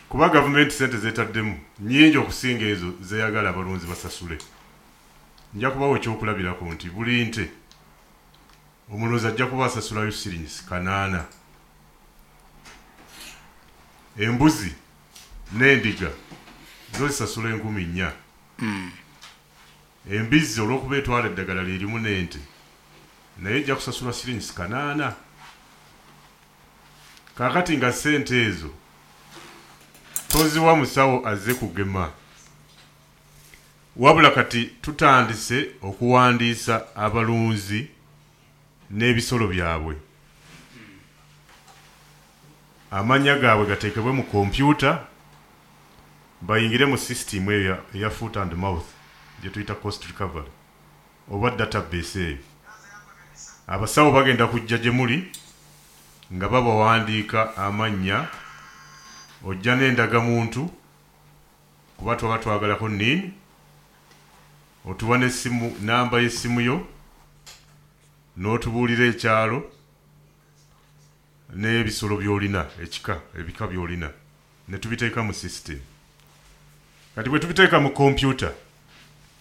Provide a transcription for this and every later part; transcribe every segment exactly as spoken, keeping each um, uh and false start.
Kuba gavumenti sente zetaddemu nyingi okusinga ezo zeyagala abalunzi basasule. Nja kubawa ekyokulabirako nti buli nte omulunzi ajja kuba asasulayo siringisi kanaana. Embuzi n'endiga zo zisasula enkumi nnya. Embizzi olw'okuba etwala eddagala lyerimu n'ente, naye ejja kusasula siringisi kanaana. Kaakati nga ssente ezo toziwa musawo azze kugema, wabula kati tutandise okuwandiisa abalunzi n'ebisolo byabwe, amannya gaabwe gateekebwe mu kompyuta, bayingire mu sisitimu eyo eya foot and mouth gye tuyita cost recovery oba database eyo. Abasawo bagenda kujja gye muli nga babawandiika amannya, ojja n'endagamuntu kuba twaba twagalako NIN, otuwa n'essimu, namba y'essimu yo, n'otubuulira ekyalo n'ebisolo by'olina, ekika, ebika by'olina, ne tubiteeka mu system. Kati bwe tubiteeka mu kompyuta,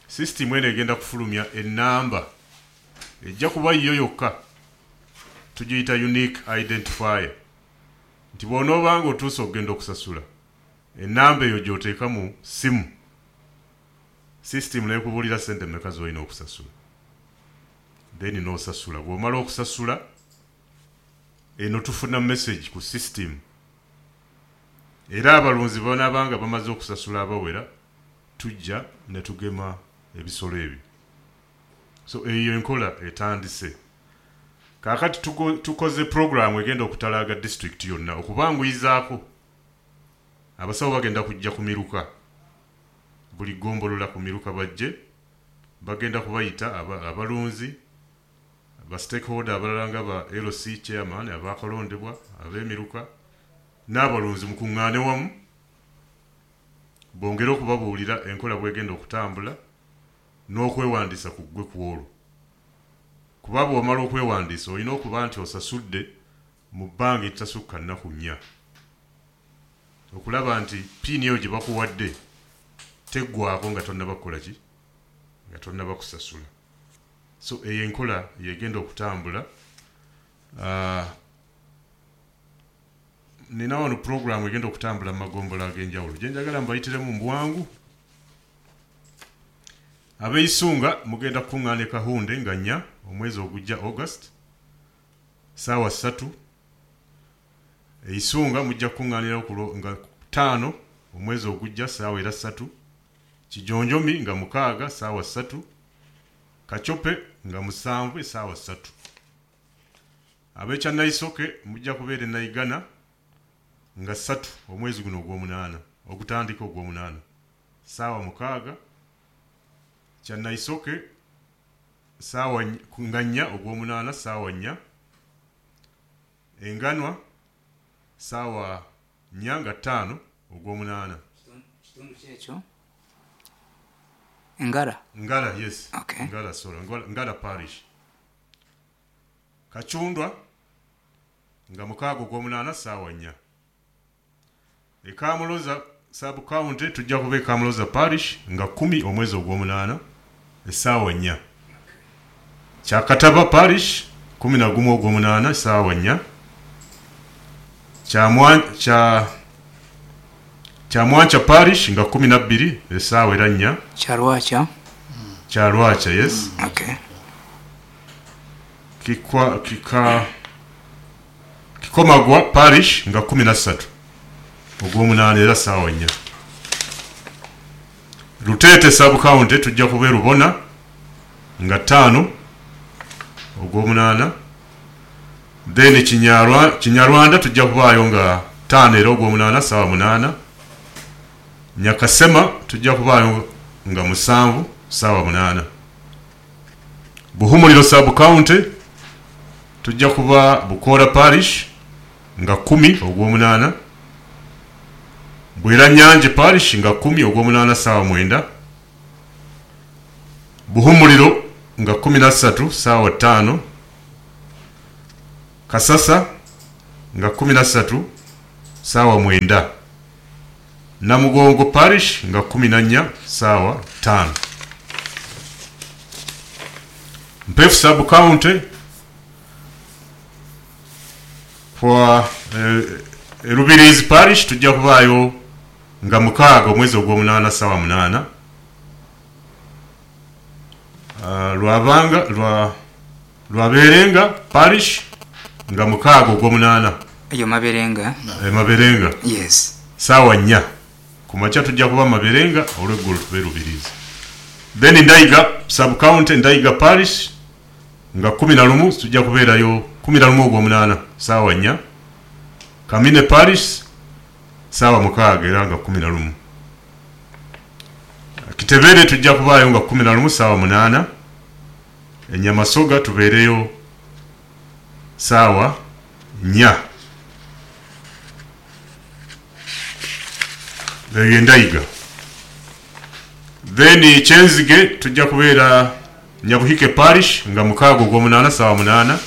system eno egenda kufulumya ennamba ejja kuba yo yokka, tugiyita unique identifier, nti bw'onoobanga otuuse okugenda okusasula, ennamba eyo gy'oteeka mu ssimu, system n'ekubuulira ssente mmeka z'olina okusasula, then n'osasula. Bw'omala okusasula eno tufuna message ku system, era abalunzi banaabanga bamaze okusasula abawera, tujja ne tugema ebisolo ebyo. So eyo enkola etandise. Kaakati tukoze puroguramu egenda okutalaaga disitulikiti yonna okubanguyizaako. Abasawo bagenda kujja ku miruka, buli ggombolola ku miruka bajje, bagenda kubayita abalunzi, ba stakeholder abalala nga ba L C chairman abakalondebwa, ab'emiruka n'abalunzi, mukuŋŋaane wamu bongere okubabuulira enkola bwegenda okutambula n'okwewandiisa ku ggwe ku olwo. Kuba bw'omala okwewandiisa olina okuba nti osasudde mu bbanga eritasukka nnaku nnya, okulaba nti PIN eyo gye bakuwadde teggwaako nga tonnaba kukola ki, nga tonnaba kusasula. So eyo enkola yegenda okutambula. Uh, nina wano puroguramu egenda okutambula mu magombolola ag'enjawulo gye njagala mbayitiremu mu bwangu. Ab'eisunga mugenda kukuŋŋaana e Kahunde nga nnya omwezi ogujja, August, saawa ssatu. Eisunga mujja kukuŋŋaanirawo nga ttaano omwezi ogujja, saawa era ssatu. Kijonjomi nga mukaaga, saawa ssatu. Kacope nga musanvu, essaawa ssatu. Ab'ekyannaisoke mujja kubeera e Naigana nga ssatu omwezi guno ogw'omunaana ogutandika ogw'omunaana, saawa mukaaga. Kyannaisoke saawa nga nnya ogw'omunaana, saawa nnya. Enganwa saawa nnya nga ttaano ogw'omunaana. Kitundu kyekyo Ngara? Ngara, yes. Okay. Ngara, sorry, Ngara, Ngara parish. Kacundwa nga mukaaga ogw'omunaana, saawa nnya. Ekamuloza sub county tujja kuba Ekamuloza parish nga kumi omwezi ogw'omunaana, essaawa nnya. Kyakataba parish kumi na gumu ogw'omunaana, essaawa nnya. Kya Kyamwanca parish nga kumi na bbiri, essaawa era nnya. Kyalwacha? Kyalwacha, yes. Okay. Kikwa, kika Kikomagwa parish nga kumi na ssatu ogw'omunaana, era ssaawa nnya. Luteete sub county tujja kuba e Rubona nga ttaano ogw'omunaana. Then Kinyarwa, Kinyarwanda tujja kubaayo nga ttaano era ogw'omunaana, ssaawa munaana. Nyakasema tujja kubaayo nga musanvu, ssaawa munaana. Buhumuliro sub county tujja kuba Bukoora parish nga kumi ogw'omunaana. Bweranyanje parish nga kumi ogw'omunaana, ssaawa mwenda. Buhumuliro nga kumi na ssatu, ssaawa ttaano. Kasasa nga kumi na ssatu, ssaawa mwenda. Namugongo parish nga kumi na nnya saawa ttaano. Mpefu sub county kwa eh, Rubirizi parish tujja kubaayo nga mukaaga omwezi ogw'omunaana saawa munaana. Uh, Lwabanga lwa Lwaberenga parish nga mukaaga ogw'omunaana. Eyo Maberenga. E, Maberenga. Yes. Saawa nnya ku makya tujja kuba Maberenga, olweggulo tube Rubirizi. Then Ndaiga sub county, Ndaiga parish nga kumi na lumu tujja kubeerayo kumi na lumu ogw'omunaana saawa nnya. Kamine parish saawa mukaaga era nga kumi na lumu. Kitebere tujja kubaayo nga kumi na lumu saawa munaana. Enyamasoga tubeereyo saawa nnya. Eyo Ndaiga. Then Kyenzige tujja kubeera Nyabuhike parish nga mukaaga ogw'omunaana saawa munaana.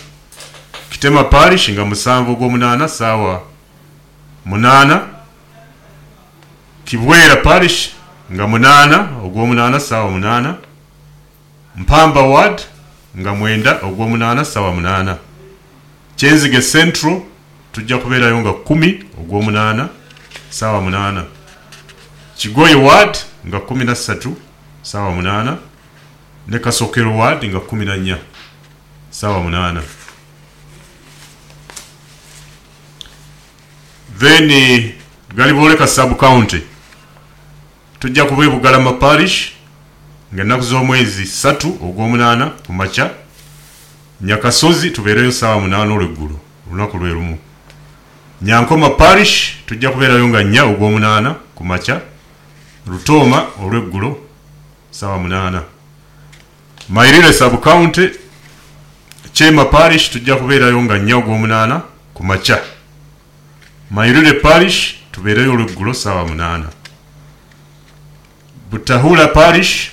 Kitema parish nga musanvu ogw'omunaana saawa munaana. Kibwera parish nga munaana ogw'omunaana saawa munaana. Mpamba ward nga mwenda ogw'omunaana saawa munaana. Kyenzige Central tujja kubeerayo nga kkumi ogw'omunaana saawa munaana. Kigoye ward nga kkumi na ssatu saawa munaana, ne Kasokero ward nga kkumi na nnya saawa munaana. Then Galibooleka sub county tujja kuba e Bugalama parish ng'ennaku z'omwezi ssatu ogw'omunaana ku makya. Nyakasozi tubeereyo saawa munaana olweggulo olunaku lwe lumu. Nyankoma parish tujja kubeerayo nga nnya ogw'omunaana ku makya. Rutooma olweggulo saawa munaana. Mairire sub county Chema parish tujja kubeerayo nga nnya ogw'omunaana ku makya. Mairire parish tubeereyo olweggulo saawa munaana. Butahula parish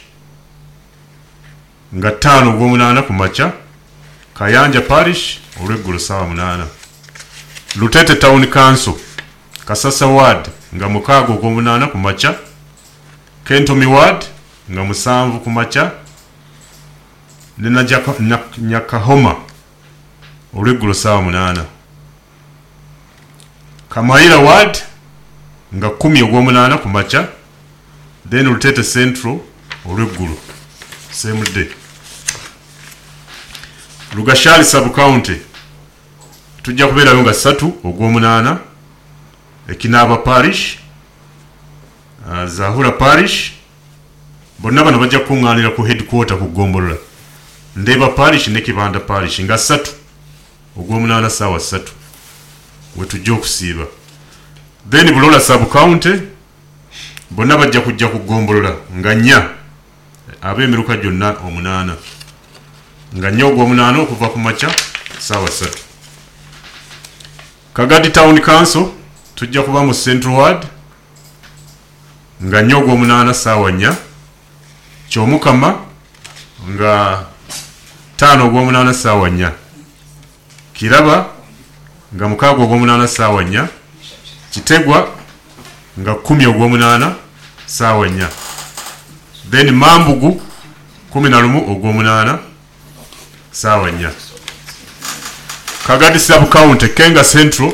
nga ttaano ogw'omunaana ku makya. Kayanja parish olweggulo saawa munaana. Lutete town council Kasasa ward nga mukaaga ogw'omunaana ku makya. Kentomi ward nga musanvu ku makya, ne Nyakahoma olweggulo saawa munaana. Kamayira ward nga kkumi ogw'omunaana ku makya, then Lutete Central olweggulo same day. Lugashali sub county tujja kubeerayo nga ssatu ogw'omunaana. Ekinaaba parish, uh, Zahura parish, bonna bano bajja kukuŋŋaanira ku headquarter ku ggombolola. Ndeeba parish ne Kibanda parish nga ssatu ogw'omunaana saawa ssatu we tujja okusiiba. Then Bulola sub county bonna bajja kujja ku ggombolola nga nnya, ab'emiruka gyonna omunaana, nga nnya ogw'omunaana okuva ku makya saawa ssatu. Kagadi town council tujja kuba mu Central ward nga nnya ogw'omunaana saawa nnya. Kyomukama nga ttaano ogw'omunaana saawa nnya. Kiraba nga mukaaga ogw'omunaana saawa nnya. Kitegwa nga kkumi ogw'omunaana saawa nnya. Then Mambugu kumi na lumu ogw'omunaana saawa nnya. Kagadi sub county Kenga Central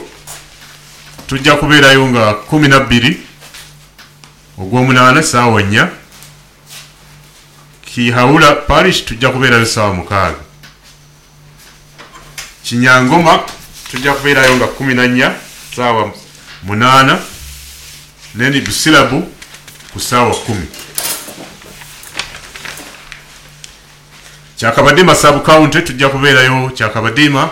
tujja kubeerayo nga kumi na bbiri ogw'omunaana saawa nnya. Kihaula parish tujja kubeerayo saawa mukaaga. Kinyangoma tujja kubeerayo nga kumi na nnya saawa munaana, then Busilabu ku saawa kkumi. Kyakabadima sub county tujja kubeerayo Kyakabadima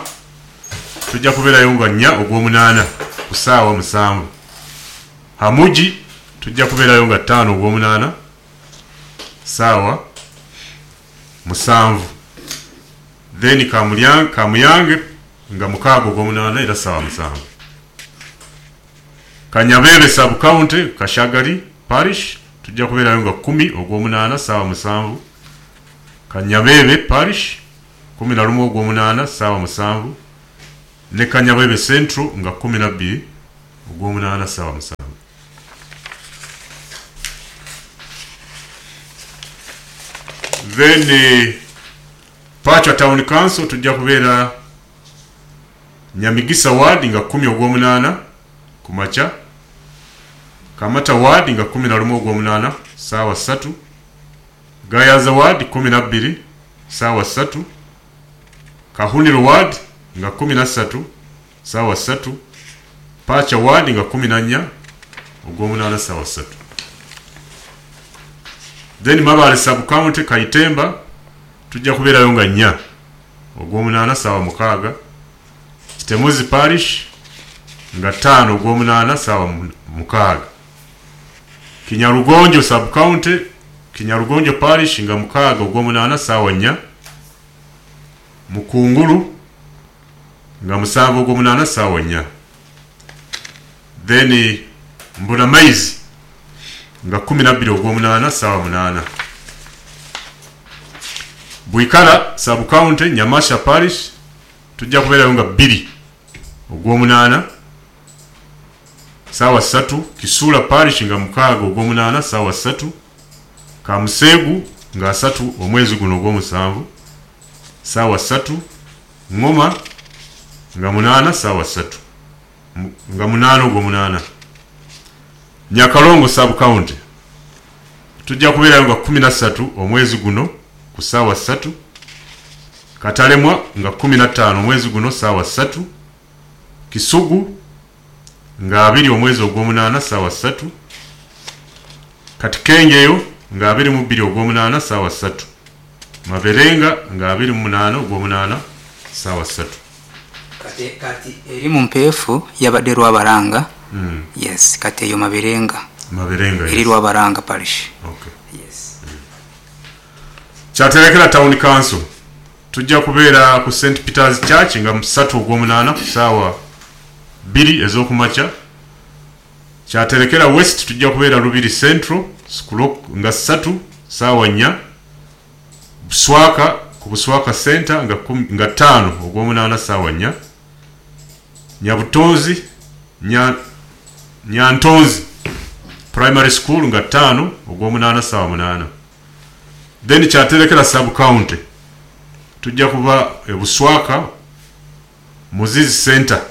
tujja kubeerayo nga nnya ogw'omunaana ku saawa musanvu. Hamuji tujja kubeerayo nga ttaano ogw'omunaana saawa musanvu. Then Kamuyange nga mukaaga ogw'omunaana era saawa musanvu. Kanyabebe sub county Kashagali parish tujja kubeerayo nga kkumi ogw'omunaana saawa musanvu. Kanyabebe parish kumi na lumu ogw'omunaana saawa musanvu, ne Kanyabebe Central nga kkumi na bbiri ogw'omunaana saawa musanvu. Then eh, Pachwa Town Council tujja kubeera Nyamigisa Ward nga kumi ogw'omunaana ku makya, Kamata Ward nga kumi na lumu ogw'omunaana saawa ssatu, Gayaza Ward kumi na bbiri saawa ssatu, Kahuniro Ward nga kumi na ssatu saawa ssatu, Pacha Ward nga kumi na nnya ogw'omunaana saawa ssatu. Then Mabale Sub County Kaitemba tujja kubeerayo nga nnya ogw'omunaana saawa mukaaga, Kitemuzi Parish nga ttaano ogw'omunaana saawa mukaaga, Kinyarugonjo Sub County Kinyarugonjo Parish nga mukaaga ogw'omunaana saawa nnya, Mukungulu nga musanvu ogw'omunaana saawa nnya. Then Mbunamaizi nga kumi na bbiri ogw'omunaana saawa munaana, Bwikala Sub County Nyamasha Parish tujja kubeerayo nga bbiri ogw'omunaana saawa ssatu, Kisuula Parish nga mukaaga ogw'omunaana saawa ssatu, Kamuseegu nga asatu omwezi guno ogw'omusanvu saawa ssatu, Ngoma nga munaana saawa ssatu nga munaana ogw'omunaana. Nyakalongo Sub County tujja kubeerayo nga kumi na ssatu omwezi guno ku ssaawa ssatu, Katalemwa nga kumi na ttaano omwezi guno ssaawa ssatu, Kisugu nga abiri omwezi ogw'omunaana ssaawa ssatu, Katikengeyo nga abiri mu bbiri ogw'omunaana ssaawa ssatu, Maberenga nga abiri mu munaana ogw'omunaana ssaawa ssatu. Kati, kati eri mu mpeefu yabadde Lwabaranga. Mm. Yes, kati eyo Maberenga. Maberenga, eri yes. Lwabaranga Parish. Okay. Yes. Mm. Kyaterekera Town Council tujja kubeera ku Saint Peter's Church nga musatu ogw'omunaana ku ssaawa bbiri ez'okumakya. Kyaterekera West tujja kubeera Lubiri Central nga ssatu ssaawa nnya, Buswaka ku Buswaka Center nga, nga ttaano ogw'omunaana ssaawa nnya, Nyabutonzi nya, Nyantonzi Primary School nga ttaano ogw'omunaana ssaawa munaana. Then Kyaterekera Sub County tujja kuba e Buswaka Muzizi Center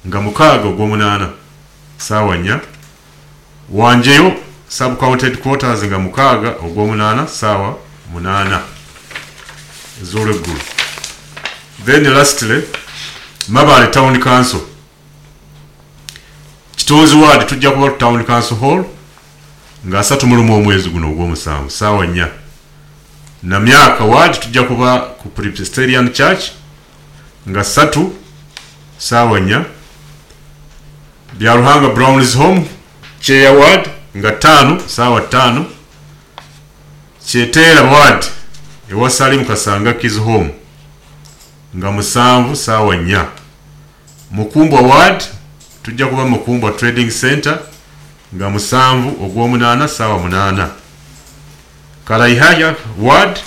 nga mukaaga ogw'omunaana ssaawa nnya, Wanjeyo Sub County Headquarters nga mukaaga ogw'omunaana ssaawa munaana ez'olweggulo. Then lastly Mabale Town Council Kitonzi Ward tujja kuba ku Town Council Hall nga asatu mu lumu omwezi guno ogw'omusanvu ssaawa nnya. Namyaka Ward tujja kuba ku Presbyterian Church nga ssatu ssaawa nnya, Byaruhanga Browns Home Cheya Ward nga ttaano ssaawa ttaano, Kyeteera Ward ewa Salim Kasanga Kids Home nga musanvu ssaawa nnya, Mukumbwa Ward tujja kuba Mukumbwa Trading Center nga musanvu ogw'omunaana ssaawa munaana, Karaihaya Ward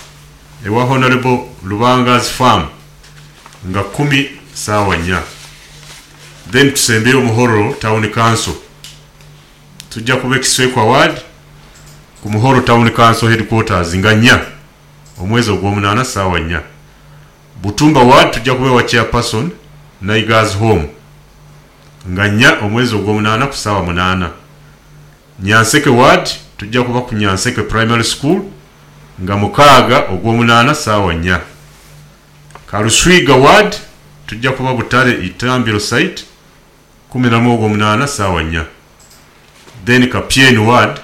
ewa Honorable Lubanga's Farm nga kumi ssaawa nnya. Then tusembeyo Muhororo Town Council tujja kuba Ekiswekwa Ward ku Muhoro Town Council Headquarters nga nnya omwezi ogw'omunaana ssaawa nnya. Butumba Ward tujja kuba ewa Chairperson Naiga's Home nga nnya omwezi ogw'omunaana ku ssaawa munaana. Nyanseke Ward tujja kuba ku Nyanseke Primary School nga mukaaga ogw'omunaana ssaawa nnya. Karuswiga Ward tujja kuba Butare Itambiro Site kumi na lumu ogw'omunaana ssaawa nnya. Then Kapyeni Ward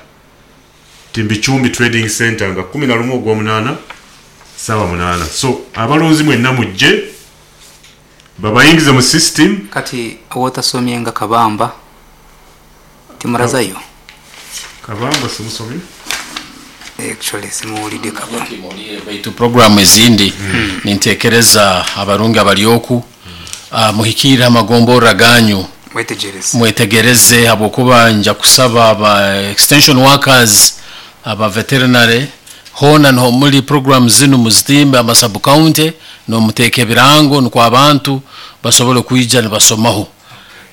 Timbichumbi Trading Center nga kumi na lumu ogw'omunaana ssaawa munaana. So abalunzi mwenna mujje babayingize mu system. Kati wotasomye nga Kabamba timurazayo? Kabamba simusomye. Actually simuwulidde Kabamba. Baitu programu ezindi mm. nintekereza abarungi abalyoku mm. uh, muhikire amagomborra ganyu mwetegereze, mwetegereze habwokuba nja kusaba aba extension workers aba veterinary hona niho muri program zinu muzitimbe ama sub county nomuteeka ebirango nukwo abantu basobole kwija nibasomaho.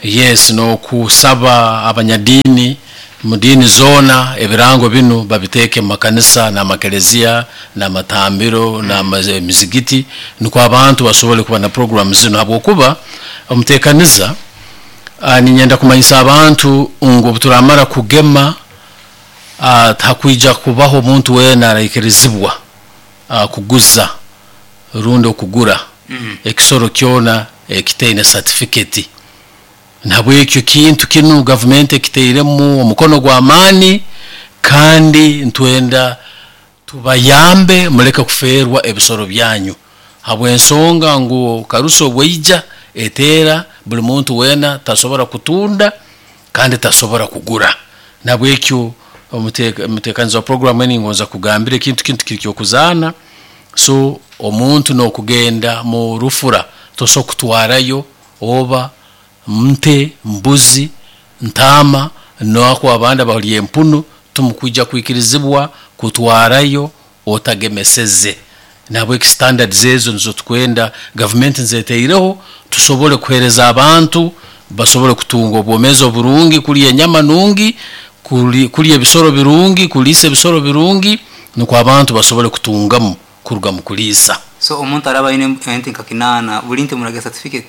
Yes, nokusaba abanyadini Mu diini zoona ebirango binu babiteeke mu makanisa n'amakereziya n'amatambiro n'emizigiti, nukwo abantu basobole kuba na program zinu, habwokuba omuteekaniza uh, ninyenda kumanyisa abantu ngu obuturamara kugema uh, hakwija kubaho omuntu weena araikirizibwa uh, kuguza rundi okugura Mm. ekisoro kyona ekitaine certificate. Nahabwekyo kintu kinu gavumenti ekiteiremu omukono gw'amaani, kandi ntwenda tubayambe muleke kufeerwa ebisoro byanyu, habw'ensonga ngu karusa obwaija eteera buli muntu weena tasobora kutunda kandi tasobora kugura. Nahabwekyo omuteka- omuteekaniza wa program enu ngonza kugambira ekintu kintu kiri kyokuzaana. So omuntu n'okugenda mu rufura tosobola kutwarayo oba nte, mbuzi, ntaama, nako abandi abalya empunu, tumukwija kwikirizibwa kutwarayo otagemeseze. Nahabweki standards ezo nizo tukwenda gavumenti nzeteireho, tusobole kuheereza abantu basobole kutunga obwomeezi oburungi, kulya enyama nungi, kuli- kulya ebisoro birungi, kuliisa ebisoro birungi, nukwo abantu basobole kutungamu kuruga mu kuliisa. So omuntu araba aine ente nka kinaana, buli nte muraga certificate?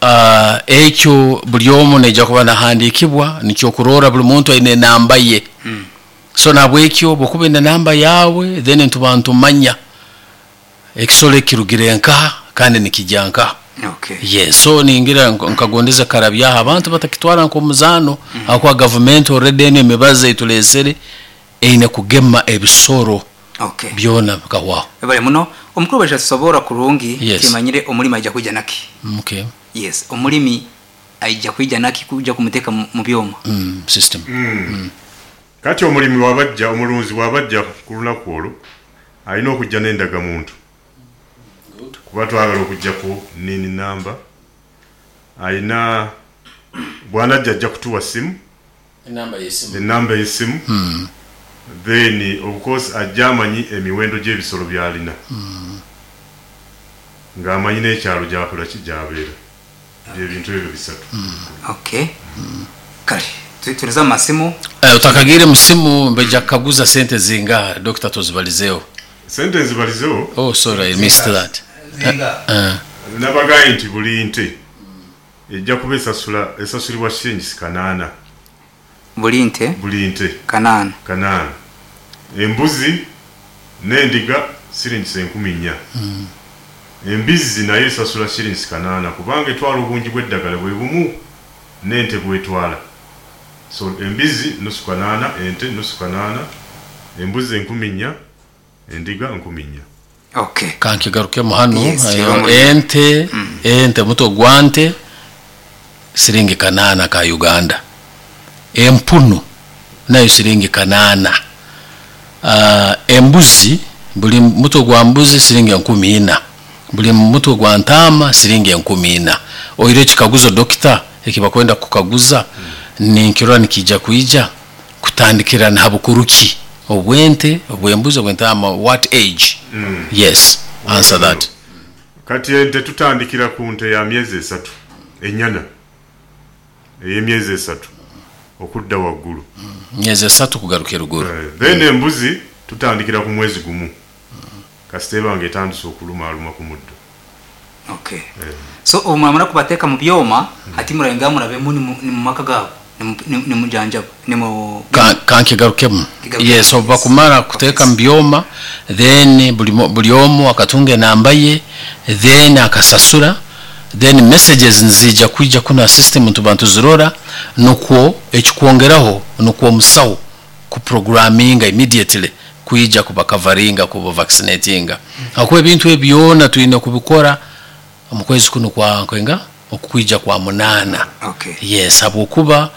Uh, ekyo buli omu naija kuba nahandiikibwa, nikyo kurora buli muntu aine enamba ye. Mm. So nabwekyo bwokuba ine namba yawe, then ntuba ntumanya ekisoro ekirugire nkaha kandi nikijya nkaha. Okay. Yes, so ningira nk- nkagondeza karabyaho abantu batakitwara nk'omuzaano, mm. Gavumenti already eno emibazi eitulesere eine kugema ebisoro Okay. byona bikahwaho. Bale muno omukuru baje tusobora kurungi. Yes. Kimanyire omulimi aija kuija naki? Okay. Yes, omulimi aija kuija naki kuja kumuteka mu mu byoma? mm, system. Kati omulimi wabajja, omulunzi bwabajja ku lunaku olwo, alina okujja n'endagamuntu, kuba twagala okujja ku NIN namba. Alina bwanajja ajja kutuwa simu, enamba y'essimu. Then of course ajja amanyi emiwendo gy'ebisolo by'alina, ng'amanyi n'ekyalo gyakola ki gy'abeera. Byebintu ebyo bisatu. Okay, kale tu- tuliza mu masimu. Uh, utakagire musimu, mbeja kukaguza sente zingaha, Doctor, tuzibalizeeho. Sente nzibalizeho. Oh, sorry, I missed that. Zinga? uh, Nabagaye nti buli nte ejja kuba esasula esasulibwa shillings kanaana. Buli nte? Buli nte. Kanaana. Kanaana. Embuzi n'endiga shillings enkumi nnya. Embizzi nayo esasula shillings kanaana, kubanga etwala obungi bw'eddagala bwe bumu n'ente bwetwala. So embizzi nusu kanaana, ente nusu kanaana, embuzi enkumi nnya, endiga nkumi nnya. Okay. Kankigarukemu hano. Yes, ayo, kibamu. ente ente muto gwa nte siringi kanaana ka Uganda, empunu nayo siringi kanaana, uh, embuzi buli muto gwa mbuzi siringi enkumi ina, buli mutwe gwa ntaama siringi enkumi ina. Oire ekikaguzo dokita ekibakwenda kukaguza, ninkirora nikija kwija kutandikira na habukuruki obwente, obwembuzi, obwentaama, what age? Yes, answer that. Kati ente tutandikira ku nte ya myezi esatu, ennyana ey'emyezi esatu okudda waggulu. Myezi esatu kugaruka eruguru. Eh, then embuzi tutandikira ku mwezi gumu, kasita eba nga etandise okulumaaluma ku muddo. Okay, so obu muramara kubateeka mu byoma, hati murayenga murabemu ni mu- ni mu maka gaabo nimujanjaba nimu Ka- kankigarukemu. Kigarukemu, Yes, obu yes. bakumara kuteeka mu byoma, then buli mo- buli omu akatunga enamba ye, then akasasura, then messages nzija kwija kuna system ntuba ntuzirora, nukwo ekikwongeraho nukwo omusawo kuprogramminga immediately kwija kubakavaringa, kuba vaccinatinga, hakuba ebintu ebyo byona tulina kubikora mu kwezi kuno kwa nkwenga okukwija kwa munaana. Okay. Yes, habwokuba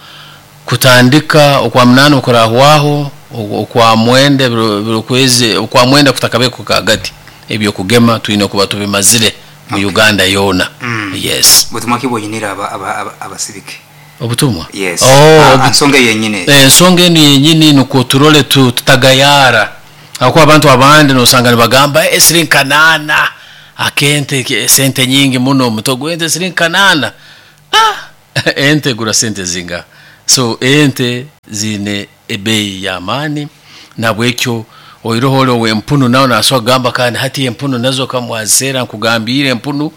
kutandika okwa munaana okurahwaho okwa mwenda, biro biro kwezi okwa mwenda kutakabeko kagati, ebyokugema tulina kuba tubimazire mu Uganda yoona. Yes. Butumwa ki bwonyinira aba- aba- aba- abasibike? Obutumwa? Yes. Oh, Ah, obu- ensonga yenyine. Ensonga enu yenyini nukwo turole tu- tutagayara, hakuba abantu abandi nosanga nibagamba, "Eh, siringi kanaana akente ke- sente nyingi muno, omuto gwente siringi kanaana." Ah, ente egura sente zinga? So ente zine ebeeyi y'amaani, nabwekyo oiroho ole ow'empunu nawe nasobola kugamba kandi hati empunu nazo kamwaziseera nkugambiire empunu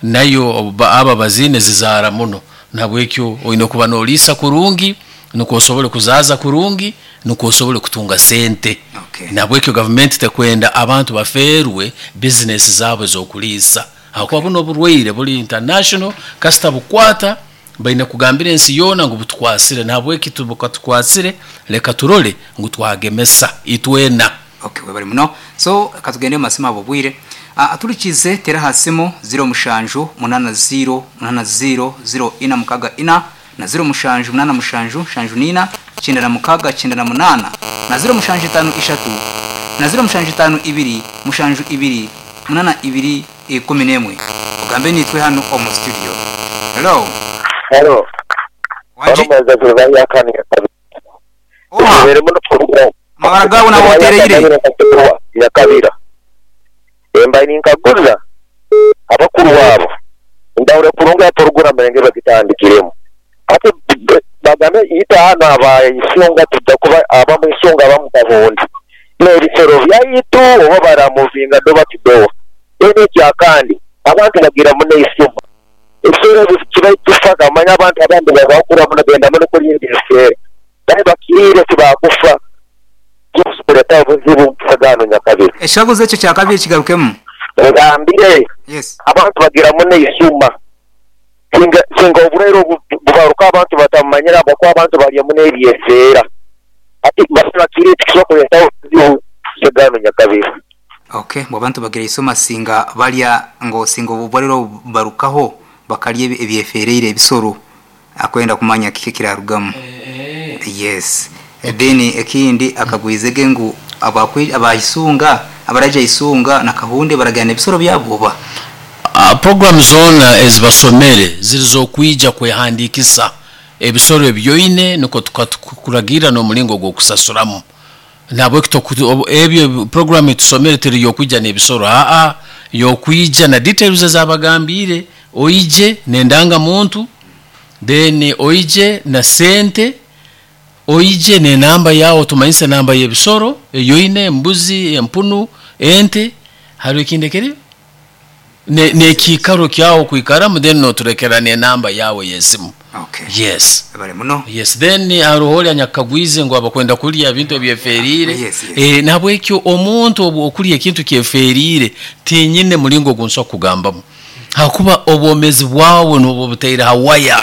nayo aba baziine zizaara muno, nabwekyo oine kuba nooliisa kurungi nukwo osobole kuzaaza kurungi nukwo osobole kutunga sente. Okay. Nabwekyo gavumenti tekwenda abantu bafeerwe bizinesi zaabo ez'okuliisa, habwokuba buno oburwaire buli international, kasita bukwata baine kugambira ensi yoona ngu butukwasire, nahabweki bukatukwasire leka turole ngu twagemesa itwena. Okay, webale muno. So katugende mu masimu abo bwire. Aturikize tera hasimu zero mushanju munana zero munana zero zero ina mukaga ina na zero mushanju munana mushanju shanju nina cyenda na mukaga cyenda na munana na zero mushanju itanu ishatu na zero mushanju itanu ibiri mushanju ibiri munana ibiri ikumi n'emwe. Ugambe nitwe hano omu studio. Hello. Hello. Wanji. Mabara gawo na wotereire. Nyakabira. Emba ninkaguza abakuru wabo ndawure kurunga porogura murenge bagitandikiremo ate bagame ita hano abayisunga tujja kuba abamuyisunga bamukabundi n'ebisoro byaitu oba baramuvinga doba tudowa ene ekyakandi abantu bagira muno eisuma ebisoro kiba kifaga manya abantu abandi babakura muno genda muno kulinda ebisere naye bakirire tibakufa kisoboleta obuzibu mpusagano Nyakabira. Ekikaguzo ekyo kyakabiri kigarukemu. Ngambire. Yes. Abantu bagira muno eisuma singa singa oburwaire bubaruka abantu batamanyira abakuba abantu barya muno ebyeseera ati bakirire tikisobola kuleeta obuzibu mpusagano Nyakabira. Okay, mu abantu bagira isoma singa balya ngo singa obubariro barukaho bakalya ebyefereire ebisoro akwenda kumanya kiki kirarugamu. Yes. Then ekindi akagwizege ngu abakwi abayisunga abaraja isunga na kahunde baragana ebisoro byaboba. Uh, program zona ezibasomere zirizokwija kwehandikisa ebisoro ebyoine nuko tukakuragira n'omulingo gw'okusasuramu. Nabwe ebyo program etusomere teri yokwija n'ebisoro a a yokwija na details ezabagambire oije nendanga muntu then oije na sente oije ne namba yao tumanyise namba y'ebisoro eyoine embuzi empunu ente hariho ekindi kiri ne nekikaro kyawo kwikaramu then noturekera ne namba yawe y'esimu. Okay. Yes. Bale muno. Yes, then haruho anyakagwize ngo abakwenda kulya ebintu ebyeferire. Yes, yes. Eh nabwekyo omuntu obu okulya ekintu kyeferire tinyine mulingo gunso kugambamu. Hakuba obwomezi bwawe nobo buteire hawaya.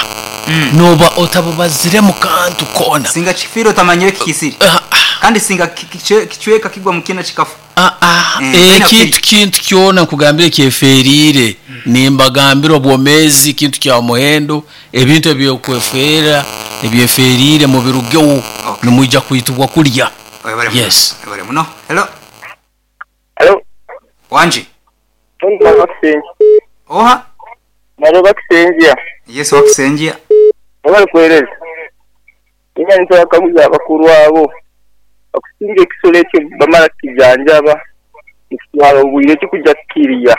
Mm. Noba otabubazire mu kantu kona. Singa kifiro tamanyire kikisiri. Uh, uh, kandi singa kichweka kigwa mukina kikafu. Ah ah mm. Ekintu kintu kyona nkugambire kyeferire. Mm. Nimbagambira obwomezi kintu kya muhendo ebintu ebyokwefera ebyeferire mu birugewo. Okay. Nimujja kuitubwa kulya. Yes. Bale muno. Hello. Hello. Wanji. Oha. Naro bakisenjia. Yes, wakisenjia. Bali kwereza. Inya nitwakaguza abakuru abo. Okusinga ekisolo ekyo bamala kijanjaba. Nikitwala obwire kikujja kukiriya.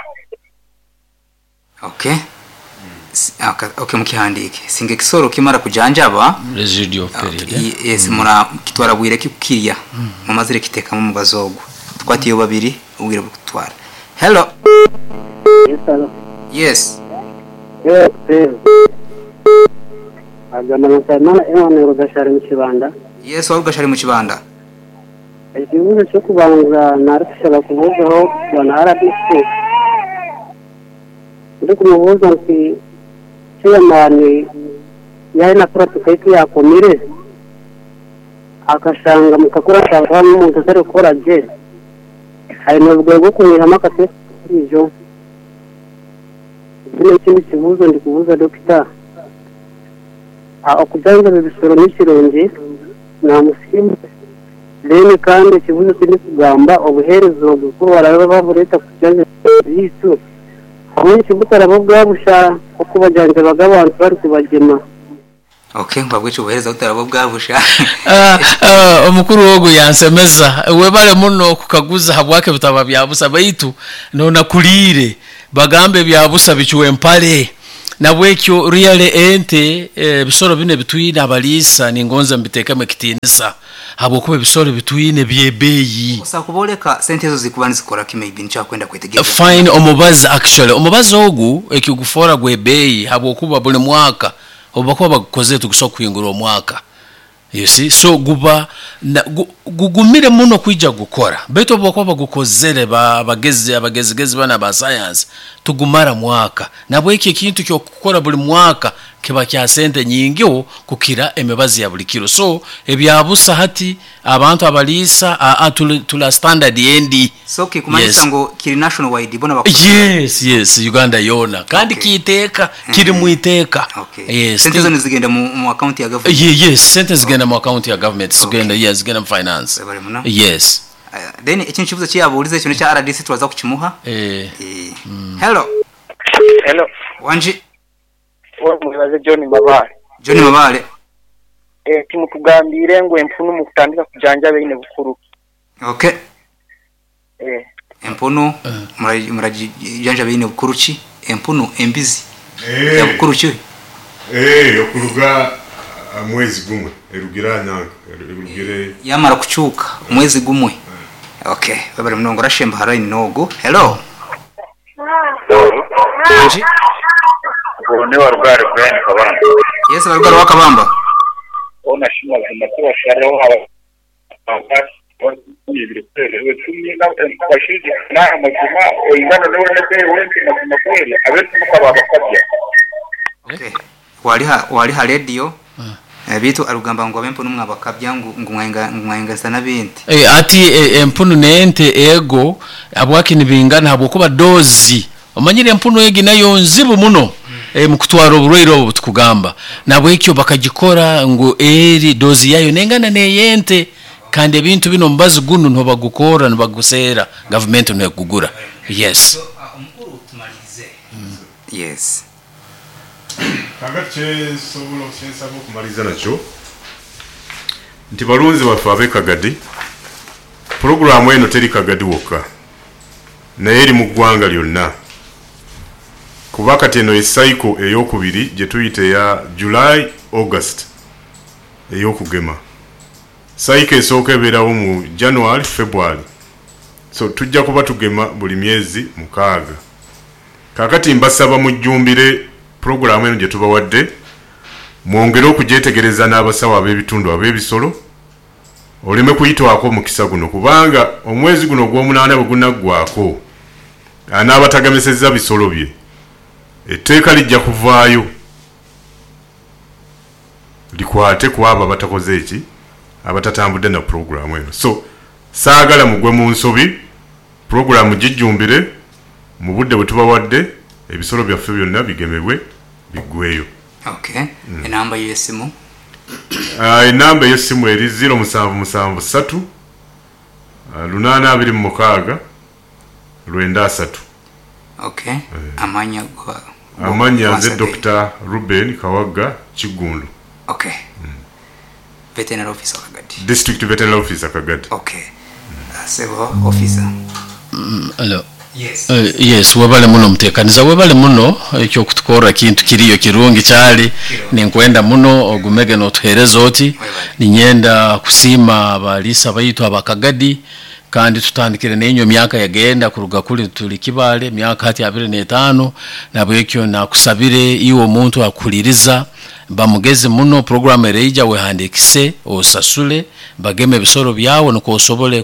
Okay. Mm. Okay, mukihandike. Singa ekisolo kimara kujanjaba residual period. Okay. Yes, mm. mura kitwara bwire kikukiriya. Mm. Mumazire kitekamu mu bazogo. Twatiyo babiri ubwire bukutwara. Hello. Yes, hello. Yes. Yes, yes. Agamba Nsabimana Emmanuel Rugashari mu Kibanda. Yes, Rugashari mu Kibanda. Ekibuuzo ky'okubanza narikushaba kubuuzaho bwana R D C. Ndi kumubuuza nti chairman yari nakora tukaitu yakomire akashanga mukakora ashanga omuntu atari kukora gye aine obugoye bw'okumwihamu akatesi ijo. Ekindi kibuuzo ndi kubuuza dokita okujanjaba ebisoro n'ekirungi namusiima. Then kandi ekibuuzo kindi kugamba obuheereza obwo ku baraba babureeta kujanjaba biitu hamwe kibutaraba bwabusha okubajanjabaga abantu bari kubagema. Okay, mbabwica obuheereza butaraba bwabusha. Omukuru ogu yansemeza webale muno kukaguza habwake butaba byabusa baitu nona kulire bagambe byabusa bicuwe empale. Nabwekyo really ente ebisoro bino ebitwine abaliisa ningonza mbitekemu ekitiinisa habwokuba ebisoro bitwine byebeeyi. Osa kuboleka sente ezo zikuba nizikora ki, maybe nikyakwenda kwetegereza. Fine, omubazi actually omubazi ogu ekigufora gwebeeyi habwokuba buli mwaka obubakuba bagukozere tugusobola kuhingura omwaka, you see, so guba na, gu, gugumire muno kwija gukora, baitu obubakuba bagukozere abagezi abagezigezi bana ba science tugumara mwaka. Nabwekyo ekintu kyokukora buli mwaka kiba kya sente nyingiho kukira emibazi ya buli kiro. So ebyabusa hati abantu abaliisa a, tula, tula standard endi. So kikumanyisa Yes. ngo kiri national wide bona bakora? Yes, yes, Uganda yona kandi Okay. kiiteeka kiri mu iteeka. Okay. Yes. Sente zo nizigenda mu, mu account ya government? Ye- yes, sente zigenda mu account ya government, zigenda, Okay. yes, zigenda mu finance. Webale muno. Yes. Uh, then ekintu kibuzo kyeyabuuliza ekyo nekya R D C twaza kukimuha. Eh. Eh. Hello. Hello. Wanji. Mwibaze John Mabale. John Mabale. Eh, timutugambire ngu empunu mu kutandika kujanjaba ine bukuru. Okay. Eh. Empunu murajanjaba ine bukuru ki? Empunu embizi. Eh. Ya bukuru ki? Eh, okuruga mwezi gumwe erugira nyanka erugire yamara kucuka mwezi gumwe. Okay, babare munongo rashemba haraini nogo. Hello. Wanji. Ni warugari Brian Kabamba. Yes, warugari wa Kabamba. Ona shima la shareho aba ibiri kweli cumi na bashirije na amazima oingana newe nebe wengi mazima kweli abetu mukaba bakabya. Okay. Waliha waliha radio. Bitu arugamba ngo abempo numwe abakabya ngo ngumwenga ngumwenga sana binti. Eh, ati eh, empunu nente ego abwaki nibingana habwokuba dozi omanyire empunu egi nayo nzibu muno. Mm. E, mukutwara oburwaire obu tukugamba nabwekyo bakagikora ngo eri dozi yayo nengana neyente kandi ebintu bino mubazi guno ntobagukora nibagusera government nekugura. Yes. So, uh, omukuru tumalize. Mm. Yes. Kagache sobola okyensaba okumaliza nakyo nti balunzi baffe ab'e Kagadi, pulogulaamu eno teri Kagadi wokka naye eri mu ggwanga lyonna, kuba kati eno esaiko ey'okubiri gye tuyita eya July August ey'okugema. Saiko esooka ebeerawo mu January February, so tujja kuba tugema buli myezi mukaaga. Kaakati mbasaba mujjumbire pulogulaamu eno gye tubawadde, mwongere okugyetegereza n'abasawo ab'ebitundu ab'ebisolo, oleme kuyitwako omukisa guno, kubanga omwezi guno ogw'omunaana bwe gunaggwako anaabatagamesezza bisolo bye, etteeka lijja kuvaayo likwate ku abo abatakoze eki, abatatambudde na pulogulaamu eno. So saagala mugwe mu nsobi, pulogulaamu gijjumbire mu budde bwe tubawadde, ebisolo byaffe byonna bigemebwe biggweyo. Okay. Mm. Enamba y'essimu? Uh, enamba y'essimu eri zero musanvu musanvu ssatu uh, lunaana abiri mu mukaaga lwenda asatu. Okay. Mm. Amanya gwa amanya nze Doctor Ruben Kawagga Kiggundu. Okay. Mm. Veterinary officer Kagadi. District veterinary officer Kagadi. Okay. Mm. Uh, sebo officer. Mm, hello. Yes. Uh, yes, webale muno mutekaniza, webale muno ekyo kutukora kintu kiriyo kirungi kyali ninkwenda muno ogumege notuhereza oti ninyenda kusima abalisa baitu abakagadi kandi tutandikire nenyo myaka yagenda kuruga kuli tuli kibale myaka hati abiri n'etaano nabwekyo nakusabire iwe omuntu akuliriza bamugeze muno program ereija wehandikise osasule bageme ebisoro byawe nuko osobole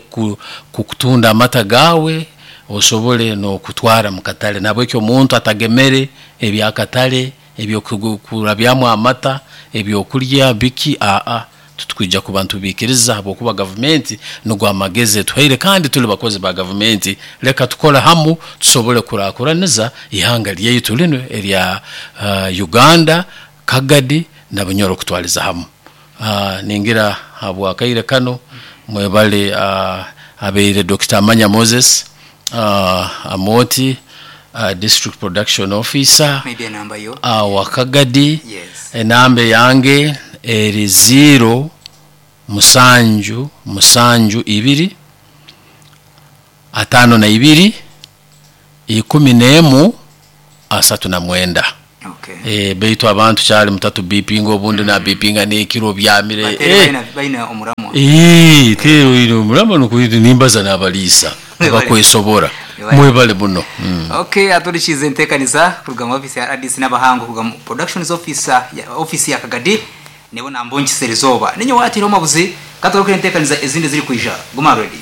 kukutunda amata gawe osobole no kutwara mukatale. Nabwekyo omuntu atagemere ebyakatale ebyokurabyamu amata ebyokulya biki a a tutukwijja ku bantu bikiriza habwokuba government nugwa amagezi tuhaire kandi tuli bakozi ba government, leka tukola hamu tusobole kurakuraniza ihanga lyaitu lino erya uh, Uganda Kagadi na Bunyoro kutwaliza hamu. Uh, ningira habwakaire kano mwebale uh, abeire Doctor Amanya Moses uh, Amoti uh, District Production Officer maybe enamba yo uh, wa Kagadi. Yes. Enamba yange eri zero musanju musanju ibiri atano na ibiri ikumi n'emu asatu na mwenda. Okay. Okay. Eh, baitu abantu kyali mutatu bipinga obundi nabipinga n'ekiro byamire. Batere Eh, baina baina omuramwa. Eh, tero ino murama nukuiti nimbaza n'abaliisa abakwesobora. Mwebale. Mwebale muno. Mm. Okay, aturikize enteekaniza kuruga mu office ya R D C n'abahango kuruga mu productions officer ya office ya Kagadi nibo nambongisera izooba ninyo watiro mabuzi katugaruka enteekaniza ezindi ziri kwija. Guma ready.